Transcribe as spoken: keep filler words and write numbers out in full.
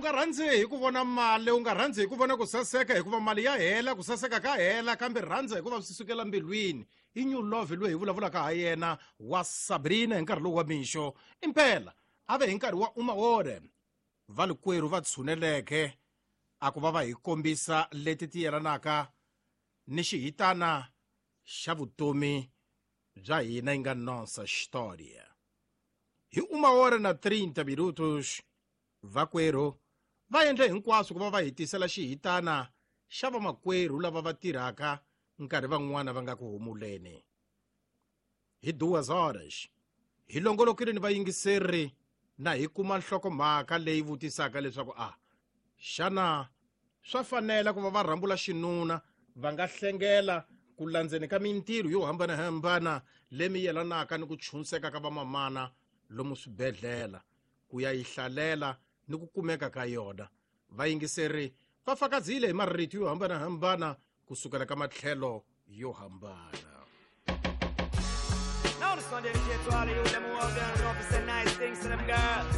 nga rhandzi hi ku vona mali u nga rhandzi hi ku vona ku saseka hikuva mali ya hela ku saseka ka hela kambe rhandza hikuva swi sukela mbilwini i new love loyi hi vulavulaka ha yena wa Sabrina hi nkarhi lowu wa mixo impela a ve hi nkarhi wa umaore valikwerhu va tshuneleke a ku va va hi kombisa leti ti yelanaka ni xihitana xa vutomi bya hina yi nga nossa história hi uma hora na trinta minutos vakwerhu va endle hinkwaswo ku va va hi tisela xihitana xa vamakwerhu lava va tirhaka nkarhi van'wana va nga ku humuleni hi duas horas hi longolokile ni vayingiseri na hi kuma nhlokomhaka leyi vutisaka leswaku a xana swa fanela ku va va rhambula xinuna va nga hlengela ku landzeni ka mintirho yo hambanahambana lemi yelanaka ni ku chunseka ka vamamana lomu swibedhlele ku ya yi hlalela ni ku kumeka ka yona vayingiseri va fakazile hi marito yo hambanahambana kusukela ka matlhelo yo hambana. Now this one dedicated to all of you them who out there and love to say nice things to them girls.